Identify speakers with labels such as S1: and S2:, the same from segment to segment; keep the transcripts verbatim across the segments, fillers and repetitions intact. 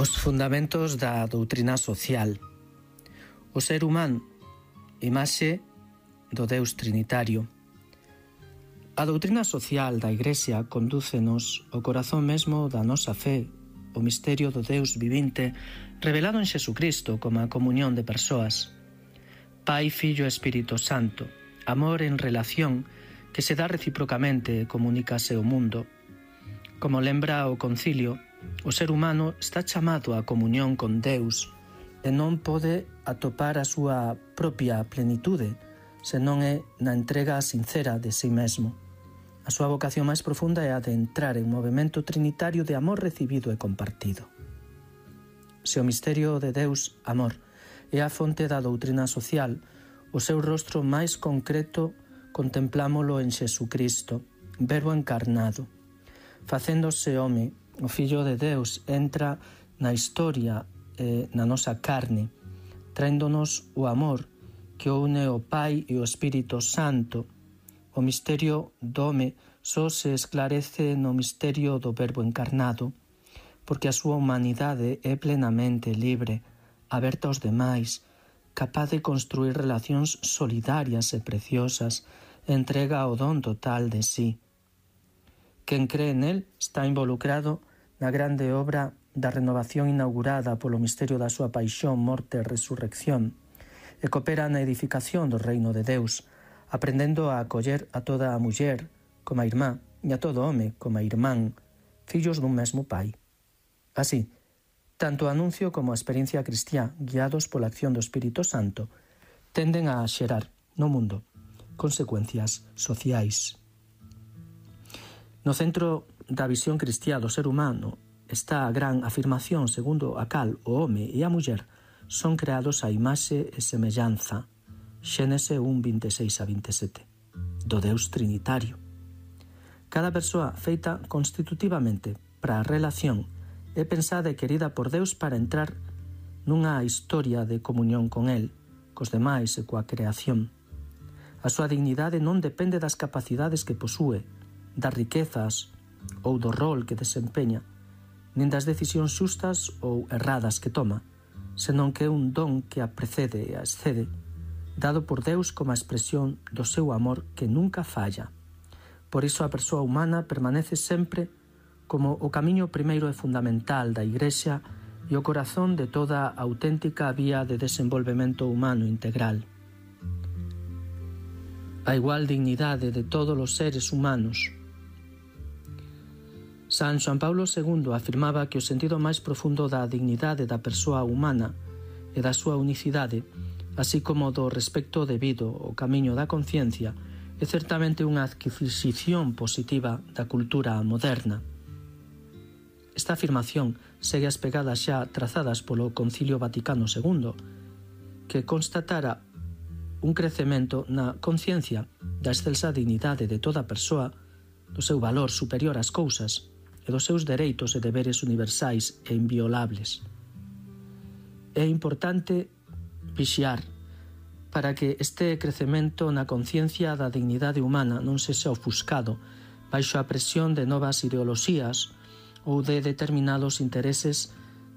S1: Os fundamentos da doutrina social. O ser humano, imaxe do Deus Trinitario. A doutrina social da Igrexa condúcenos ao corazón mesmo da nosa fe, o misterio do Deus vivinte revelado en Xesucristo como a comunión de persoas. Pai, Fillo e Espírito Santo, amor en relación que se dá reciprocamente e comunícase ao mundo. Como lembra o concilio, o ser humano está chamado á comunión con Deus e non pode atopar a súa propia plenitude se non é na entrega sincera de si mesmo. A súa vocación máis profunda é a de entrar en movimento trinitario de amor recibido e compartido. Se o misterio de Deus, amor, é a fonte da doutrina social, o seu rostro máis concreto contemplámolo en Xesucristo, Verbo encarnado. Facéndose home, o Fillo de Deus entra na historia e na nosa carne, traéndonos o amor que une o Pai e o Espírito Santo. O misterio do home só se esclarece no misterio do Verbo encarnado, porque a súa humanidade é plenamente libre, aberta aos demais, capaz de construir relacións solidarias e preciosas, entrega o don total de sí. Quen cree nel está involucrado na grande obra da renovación inaugurada polo misterio da súa paixón, morte e resurrección, e coopera na edificación do reino de Deus, aprendendo a acoller a toda a muller como a irmá e a todo home como a irmán, fillos dun mesmo Pai. Así, tanto o anuncio como a experiencia cristiá, guiados pola acción do Espírito Santo, tenden a xerar no mundo consecuencias sociais. No centro da visión cristiá do ser humano está a gran afirmación segundo a cal o home e a muller son creados a imaxe e semellanza, Xénese un, vinte e seis a vinte e sete, do Deus Trinitario. Cada persoa feita constitutivamente para a relación é pensada e querida por Deus para entrar nunha historia de comunión con El, cos demais e coa creación. A súa dignidade non depende das capacidades que posúe, das riquezas ou do rol que desempeña, nin das decisións xustas ou erradas que toma, senón que é un don que a precede e a excede, dado por Deus como a expresión do seu amor que nunca falla. Por iso a persoa humana permanece sempre como o camiño primeiro e fundamental da Igrexa e o corazón de toda a auténtica vía de desenvolvemento humano integral. A igual dignidade de todos os seres humanos. San Xoán Paulo segundo afirmaba que o sentido máis profundo da dignidade da persoa humana e da súa unicidade, así como do respecto debido ao camiño da conciencia, é certamente unha adquisición positiva da cultura moderna. Esta afirmación segue as pegadas xa trazadas polo Concilio Vaticano segundo, que constatara un crecemento na conciencia da excelsa dignidade de toda persoa, do seu valor superior ás cousas e dos seus dereitos e deberes universais e inviolables. É importante vixiar para que este crecemento na conciencia da dignidade humana non sexa ofuscado baixo a presión de novas ideoloxías ou de determinados intereses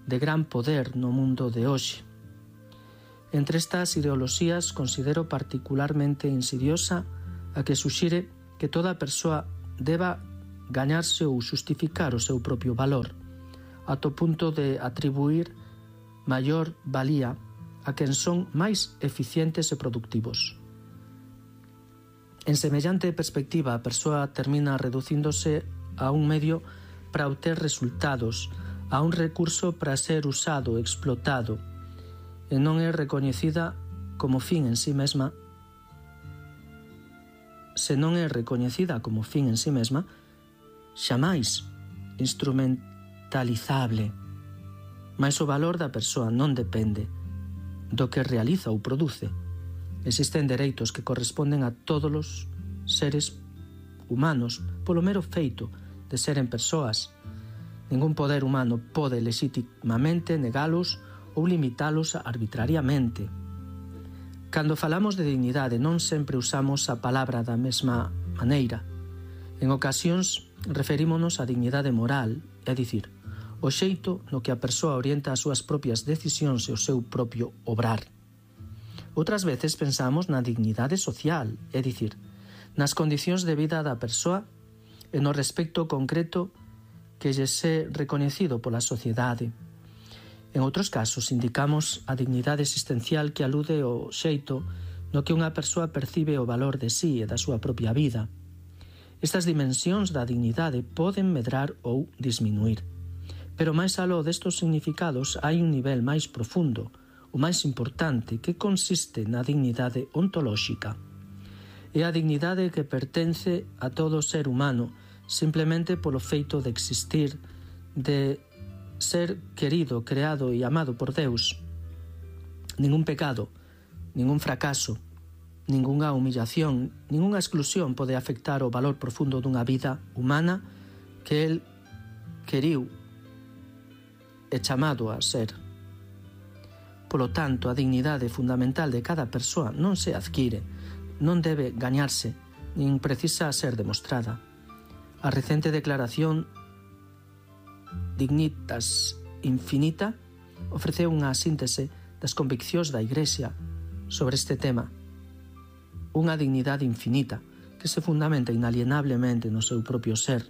S1: de gran poder no mundo de hoxe. Entre estas ideoloxías considero particularmente insidiosa a que suxire que toda persoa deba gañarse ou xustificar o seu propio valor, ata o punto de atribuir maior valía a quen son máis eficientes e productivos. En semellante perspectiva, a persoa termina reducíndose a un medio para obter resultados, a un recurso para ser usado e explotado, e non é recoñecida como fin en sí mesma. Se non é recoñecida como fin en sí mesma, xamais instrumentalizable. Mais o valor da persoa non depende do que realiza ou produce. Existen dereitos que corresponden a todos os seres humanos polo mero feito de seren persoas. Ningún poder humano pode legitimamente negalos ou limitalos arbitrariamente. Cando falamos de dignidade non sempre usamos a palabra da mesma maneira. En ocasións referímonos á dignidade moral, é dicir, o xeito no que a persoa orienta as súas propias decisións e o seu propio obrar. Outras veces pensamos na dignidade social, é dicir, nas condicións de vida da persoa e no respecto concreto que lle é recoñecido pola sociedade. En outros casos indicamos a dignidade existencial que alude ao xeito no que unha persoa percibe o valor de sí e da súa propia vida. Estas dimensións da dignidade poden medrar ou disminuir. Pero máis aló destos significados hai un nivel máis profundo, o máis importante, que consiste na dignidade ontolóxica. É a dignidade que pertence a todo ser humano simplemente polo feito de existir, de ser querido, creado e amado por Deus. Ningún pecado, ningún fracaso, ningunha humillación, ningunha exclusión pode afectar o valor profundo dunha vida humana que el queriu e chamado a ser. Polo tanto, a dignidade fundamental de cada persoa non se adquire, non debe gañarse, nin precisa ser demostrada. A recente declaración Dignitas Infinita ofreceu unha síntese das conviccións da Igrexa sobre este tema. Unha dignidade infinita que se fundamenta inalienablemente no seu propio ser.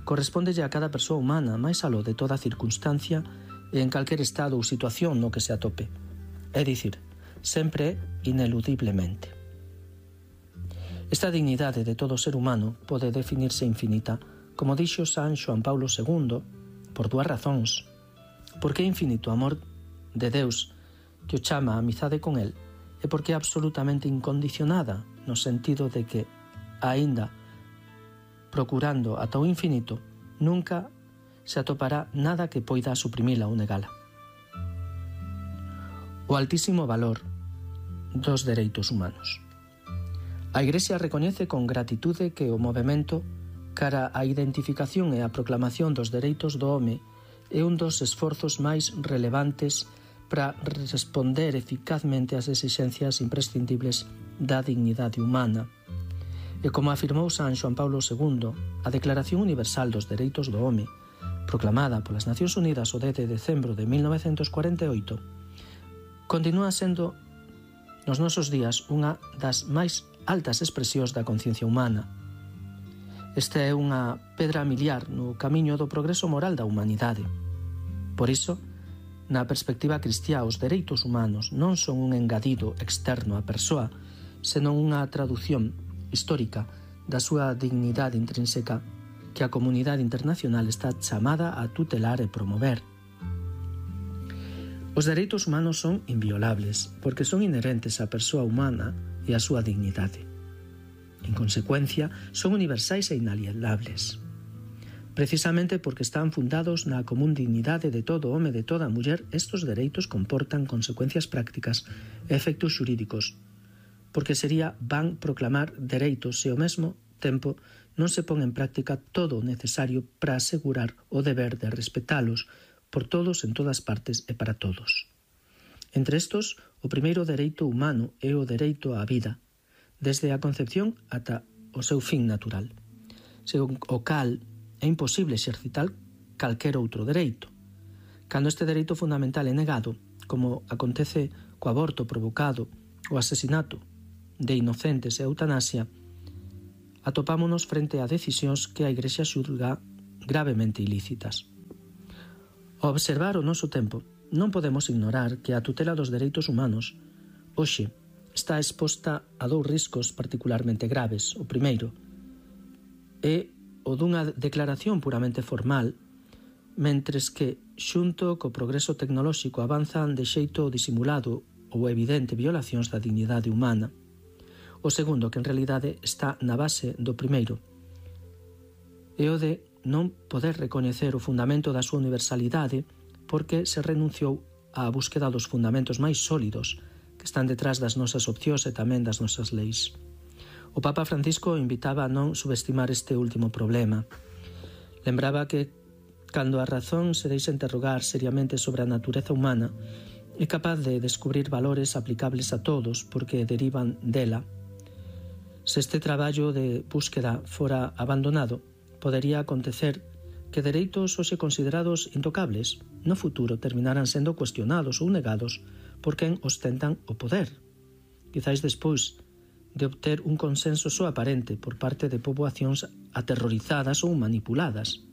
S1: Correspóndelle a cada persoa humana máis aló de toda circunstancia e en calquer estado ou situación no que se atope. É dicir, sempre ineludiblemente. Esta dignidade de todo ser humano pode definirse infinita, como dixo San Xoán Paulo segundo, por dúas razóns. Porque é infinito o amor de Deus que o chama a amizade con el, e porque é absolutamente incondicionada no sentido de que, aínda procurando ata o infinito, nunca se atopará nada que poida suprimila ou negala. O altísimo valor dos dereitos humanos. A Igrexa recoñece con gratitude que o movemento cara á identificación e a proclamación dos dereitos do home é un dos esforzos máis relevantes para responder eficazmente ás exixencias imprescindibles da dignidade humana. E como afirmou San Xoán Paulo segundo, a Declaración Universal dos Dereitos do Home, proclamada polas Nacións Unidas o dez de decembro de mil novecentos cuarenta e oito, continúa sendo nos nosos días unha das máis altas expresións da conciencia humana. Esta é unha pedra miliar no camiño do progreso moral da humanidade. Por iso, na perspectiva cristiá, os dereitos humanos non son un engadido externo á persoa, senón unha tradución histórica da súa dignidade intrínseca que a comunidade internacional está chamada a tutelar e promover. Os dereitos humanos son inviolables porque son inherentes á persoa humana e á súa dignidade. En consecuencia, son universais e inalienables. Precisamente porque están fundados na común dignidade de todo home e de toda muller, estos dereitos comportan consecuencias prácticas e efectos xurídicos, porque sería van proclamar dereitos e ao mesmo tempo non se pon en práctica todo o necesario para asegurar o deber de respetalos por todos en todas partes e para todos. Entre estos, o primeiro dereito humano é o dereito á vida, desde a concepción ata o seu fin natural, según o cal é imposible exercitar calquer outro dereito. Cando este dereito fundamental é negado, como acontece co aborto provocado, o asesinato de inocentes e a eutanasia, atopámonos frente a decisións que a Igrexa xulga gravemente ilícitas. Ao observar o noso tempo, non podemos ignorar que a tutela dos dereitos humanos hoxe está exposta a dous riscos particularmente graves. O primeiro é o dunha declaración puramente formal, mentres que, xunto co progreso tecnolóxico, avanzan de xeito disimulado ou evidente violacións da dignidade humana. O segundo, que en realidade está na base do primeiro, é o de non poder recoñecer o fundamento da súa universalidade porque se renunciou á búsqueda dos fundamentos máis sólidos que están detrás das nosas opcións e tamén das nosas leis. O Papa Francisco invitaba a non subestimar este último problema. Lembraba que, cando a razón se deixa interrogar seriamente sobre a natureza humana, é capaz de descubrir valores aplicables a todos porque derivan dela. Se este traballo de búsqueda fora abandonado, podería acontecer que dereitos hoxe considerados intocables no futuro terminarán sendo cuestionados ou negados por quen ostentan o poder. Quizáis despois de obter un consenso só aparente por parte de poboacións aterrorizadas ou manipuladas.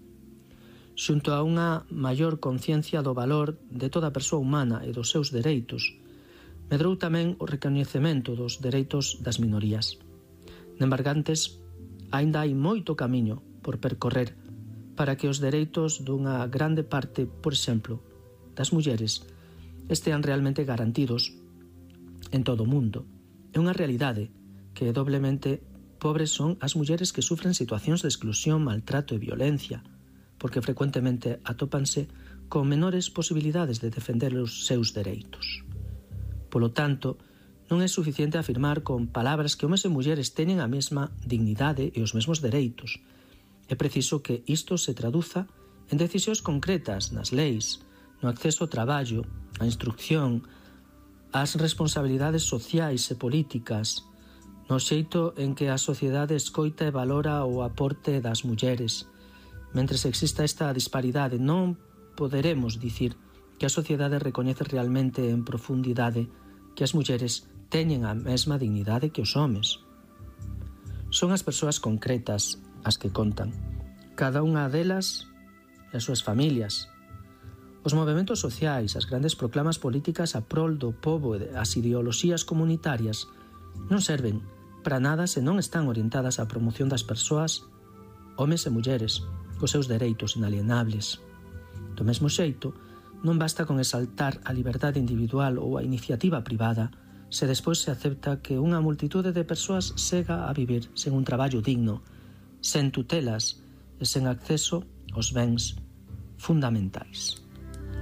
S1: Xunto a unha maior conciencia do valor de toda persoa humana e dos seus dereitos, medrou tamén o recoñecemento dos dereitos das minorías. Nembargantes, aínda hai moito camiño por percorrer para que os dereitos dunha grande parte, por exemplo, das mulleres, estean realmente garantidos en todo o mundo. É unha realidade que doblemente pobres son as mulleres que sufren situacións de exclusión, maltrato e violencia, porque frecuentemente atópanse con menores posibilidades de defender os seus dereitos. Polo tanto, non é suficiente afirmar con palabras que homes e mulleres teñen a mesma dignidade e os mesmos dereitos. É preciso que isto se traduza en decisións concretas nas leis, no acceso ao traballo, á instrucción, ás responsabilidades sociais e políticas, no xeito en que a sociedade escoita e valora o aporte das mulleres. Mentres exista esta disparidade, non poderemos dicir que a sociedade recoñece realmente en profundidade que as mulleres teñen a mesma dignidade que os homes. Son as persoas concretas as que contan, cada unha delas e as súas familias. Os movementos sociais, as grandes proclamas políticas a prol do pobo e as ideoloxías comunitarias non serven para nada se non están orientadas á promoción das persoas, homes e mulleres, cos seus dereitos inalienables. Do mesmo xeito, non basta con exaltar a liberdade individual ou a iniciativa privada se despois se acepta que unha multitude de persoas sega a vivir sen un traballo digno, sen tutelas e sen acceso aos bens fundamentais.